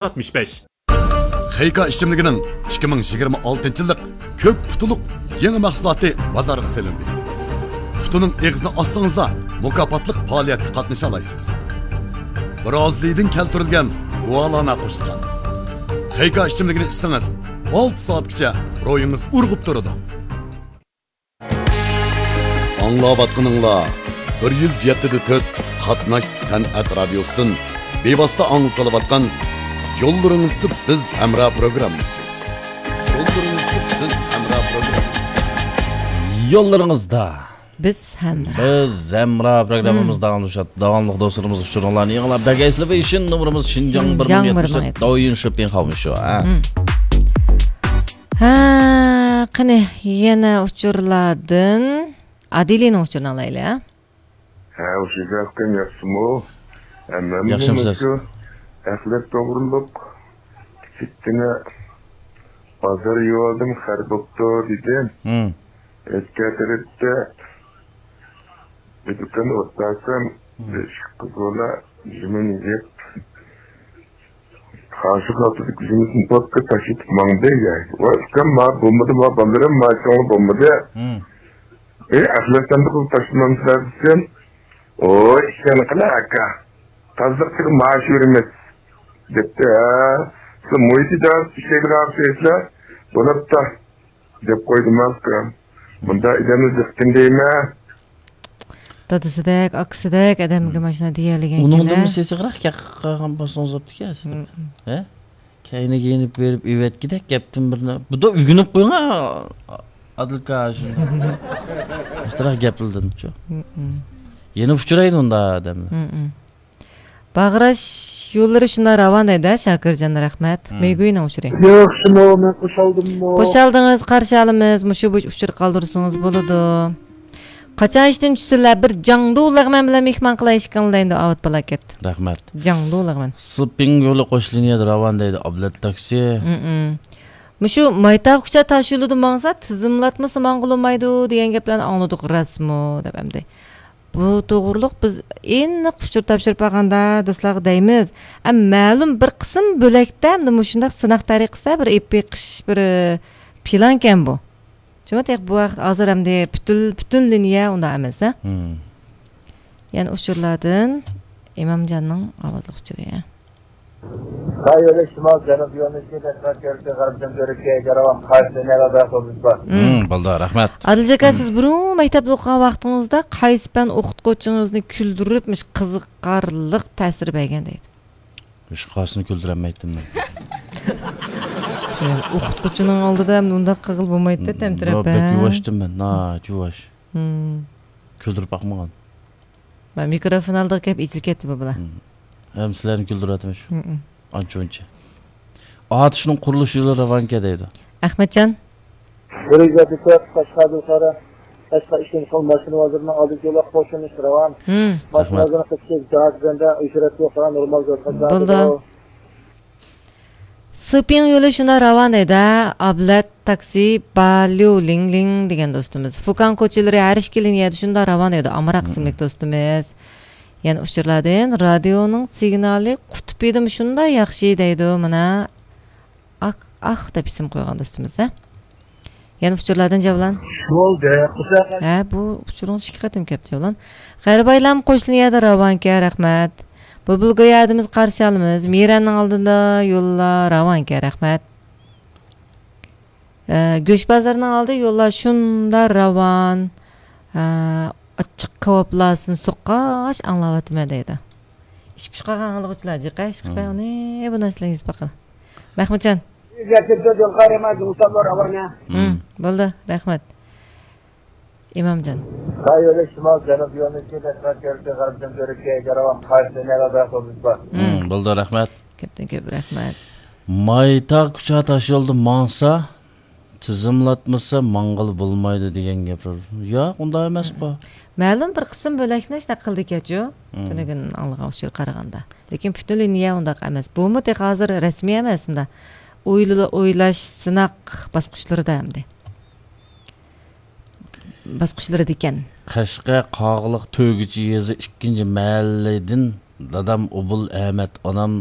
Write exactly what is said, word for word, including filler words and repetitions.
ئاتمىش بەش. خېيكا ئىچىملىكىنىڭ ئىككى مىڭ يىگىرمە ئالتىنچى يىللىق كۆك پۇتىلىق يېڭى مەھسۇلاتى بازارغا سېلىندى. پۇتىنىڭ ئېغىزىنى ئاچسىڭىزلا، مۇكاپاتلىق پائالىيەتكە قاتنىشالايسىز. برازىلىيىدىن كەلتۈرۈلگەن گۇالانا قوشۇلغان. خېيكا ئىچىملىكىنى ئىچسىڭىز، ئالتە سائەتكىچە روھىڭىز ئۇرغۇپ تۇرىدۇ. ئاڭلاۋاتقىنىڭلار بىر يۈز يەتتە دە تۆت قاتناش سەنئەت رادىيوسىدىن بىۋاسىتە ئاڭلىتىلىۋاتقان يوللىرىڭىزدا بىز ھەمراھ پروگراممىسى. يوللىرىڭىزدا بىز ھەمراھ پروگراممىسى. يوللىرىڭىزدا بىز ھەمراھ. بىز ھەمراھ پروگراممىمىز داۋاملىشىدۇ. داۋاملىق دوستلىرىمىز ئۇچۇرۇڭلارنى يېڭىلاپ بەرگەيسىلەر. شىنجاڭ بىر مىڭ يەتمىش تۆت، داۋيۈن شىپىڭ خاۋمىشۇ. ھە. ھە، قېنى، يەنە ئۇچۇرلاردىن ئادىلىنىڭ ئۇچۇرىنى ئالايلى، ھە؟ ھە، ئۇششاق ئۇكام، ياخشىمۇ؟ ھەممەممۇ ياخشىمسىز؟ مۇشۇ ئەخلەت توغرۇلۇق كىچىككىنە بازار يېۋالدىم، خەر بوپتۇ دېدىم. ھىم. ئۆتكەن تەرەپتە ئۆتكەن ئوتتاسام، ھىم. بىر ئىككى قىز بالا يېمىنى يەپ، قاشۇق ئالدىدىكى يېمىسىنى پوتقا تاشلىتىپ ماڭدى. ۋاي ئۇكام، ما بولمىدى، ما بالىلىرىم، ما چوڭى بولمىدى. ھىم. ئەي، ئەخلەت ساندۇقىغا تاشلىمامسىلەر دېسەم، ۋوي ئىشەنگىلى ئاكا، تازىلىقچىغا مائاش بېرىمىز دەپتۇ. ھە، سىز مۇھىت ئىدارىسىدە ئىشلەيدىغان ئوخشايسىلەر، بولۇپتۇ دەپ قويدۇم ئاكا. مۇنداق ئادەمنى جىقكىن دەيمەن. دادىسىدەك، ئاكىسىدەك ئادەمگە ماشىنا دېيەلىگەن ئۇنىڭدىن كېلە. سېسىقراق گەپ قىلغان بولسىڭىز بوپتىكەن سىلەر. ھە؟ كەينىگە يېنىپ بېرىپ ئېۋەتكىدەك گەپتىن بىرنى. بۇدا ئۆگىنىپ قويۇڭ، ئادىلكا، شۇنداق. ئاشتراق گەپلىدىمچۇ. يەنە ئۇچرايدۇ ئۇنداق ئادەملەر. باغراش يوللىرى شۇنداق راۋان دەيدۇ، شاكىرجان، رەھمەت. مېگۈينىڭ ئۇچۇرى. ياخشىمۇ، مەن قوشالدىممۇ؟ قوشالدىڭىز، قارشى ئالىمىز. مۇشۇ بويىچە ئۇچۇر قالدۇرسىڭىز بولىدۇ. قاچان ئىشتىن چۈشسىلەر، بىر جاڭدۇ لەغمەن بىلەن مېھمان قىلاي ئىككىڭلارنى دەيدۇ، ئاۋۇت پالاكەت. رەھمەت. جاڭدۇ لەغمەن. سىپىڭ يولى قوش لىنىيەدە راۋان دەيدۇ، ئابلەت تاكسى. مۇشۇ مايتاغ كۇچا تاش يولىدا ماڭسا، تىزىملاتمىسا ماڭغىلى بولمايدۇ دېگەن گەپلەرنى ئاڭلىدۇق، راستمۇ دەپ ئەمدى. بۇ توغرۇلۇق بىز ئېنىق ئۇچۇر تاپشۇرۇپ بارغاندا دوستلارغا دەيمىز. ئەم، مەلۇم بىر قىسىم بۆلەكتە ئەمدى مۇشۇنداق سىناق تەرىقىسىدە بىر ئېلىپ بېقىش بىر پىلانكەن بۇ. شۇڭا تېخى بۇ ۋاقىت ھازىر ئەمدى پۈتۈن، پۈتۈن لىنىيە ئۇنداق ئەمەس، ھە؟ يەنە ئۇچۇرلاردىن ئىمامجاننىڭ ئاۋازلىق ئۇچۇرى. خىتاي يولى شىمال جەنۇب يۆنىلىشى تەشۋىقات كۆرۈكى غەربتىن تۈركىيەگە راۋان قايسى لىنىيەلەردە ئاپتوبۇس بار؟ بولدى، رەھمەت. ئادىلجان ئاكا، سىز بۇرۇن مەكتەپتە ئوقۇغان ۋاقتىڭىزدا قايسى پەن ئوقۇتقۇچىڭىزنى كۈلدۈرۈپ، مۇشۇ قىزىقارلىق تەسىر بەرگەن دەيدۇ. ھېچقايسىنى كۈلدۈرەلمەيتتىم مەن. يا، ئوقۇتقۇچىنىڭ ئالدىدا ئەمدى ئۇنداق قىلغىلى بولمايتتى، تەمتىرەپ، بەك ھە؟ يۇۋاشتىم مەن، ناھايىتى يۇۋاش. كۈلدۈرۈپ باقمىغان. مىكروفون ئالدىغا كەپ ئېچىلىپ كەتتى بۇ بالا. ھەم سىلەرنى كۈلدۈرۈۋاتىمەن شۇ. ئانچە-مۇنچە. ئاتۇشنىڭ قۇرۇلۇش يولى راۋانكەن دەيدۇ. ئەخمەتجان. بىر يۈز يەتتە تۆت، قەشقەر بىخارا، قەشقەر ئىشىم قىل، ماشىنا بازىرىنىڭ ئالدىدىكى يوللۇق قوشۇلۇش راۋان. ماشىنا بازىرىنىڭ قېتىشى جاھات بەندە، ئۆچرەت يوق، نورمال يول قاتناش. بولدى. سىپىڭ يولى شۇنداق راۋان دەيدۇ، ھە؟ ئابلەت تاكسى باليۇ لىڭ لىڭ دېگەن دوستىمىز. فۇكاڭ كوچىلىرى ھەر ئىككى لىنىيەدە شۇنداق راۋان دەيدۇ، ئامراق ئىسىملىك دوستىمىز. يەنە ئۇچۇرلاردىن رادىيونىڭ سىگنالى قۇتۇپىدىمۇ شۇنداق ياخشى دەيدۇ، مانا. ئاھ، ئاھ دەپ ئىسىم قويغان دوستىمىز، ھە؟ يەنە ئۇچۇرلاردىن جەۋلان. بولدى، قۇساق. ھە، بۇ ئۇچۇرىڭىز ئىككى قېتىم كەپتۇ، جەۋلان. غەربايلام قوشلىنىيەدە راۋانكەن، رەھمەت. بۇلبۇل گۆيەدىمىز قارشى ئالىمىز. مىرەننىڭ ئالدىدا يوللار راۋانكەن، رەھمەت. ئە، گۆش بازىرىنىڭ ئالدى يوللار شۇنداق راۋان. ئە، ئاچچىق كاۋاپلاسىنى سوققاچ ئاڭلاۋاتىمەن دەيدۇ. ئىچ پۇشقاغان ئاڭلىغۇچىلار جىقە ئىش قىلىپ ئۇنى بۇ نەرسىلەرنى يېزىپ باقىدۇ. مەخمۇتجان. بولدى، رەھمەت. ئىمامجان. خىتاي يولى شىمال جەنۇب يۆنىلىشى تەشۋىقات كۆرۈكى غەربتىن تۈركىيەگە راۋان قايسى لىنىيەلەردە ئاپتوبۇس بار؟ بولدى، رەھمەت. كۆپتىن كۆپ رەھمەت. مايتاغ كۇچا تاش يولدا ماڭسا، تىزىملاتمىسا ماڭغىلى بولمايدۇ دېگەن گەپلەر. ياق، ئۇنداق ئەمەسقۇ. مەلۇم بىر قىسىم بۆلەكنى شۇنداق قىلدىكەنچۇ؟ تۈنۈگۈن ئاڭلىغان ئۇچۇر قارىغاندا. لېكىن پۈتۈن لىنىيە ئۇنداق ئەمەس. بۇمۇ تېخى ھازىر رەسمىي ئەمەس، مۇنداق ئويلا-، ئويلاش، سىناق باسقۇچلىرىدا ئەمدى. باسقۇچلىرىدىكەن. قەشقەر قاغىلىق تۆگىچى يېزا ئىككىنچى مەھەللىدىن دادام ئوبۇل ئەمەت، ئانام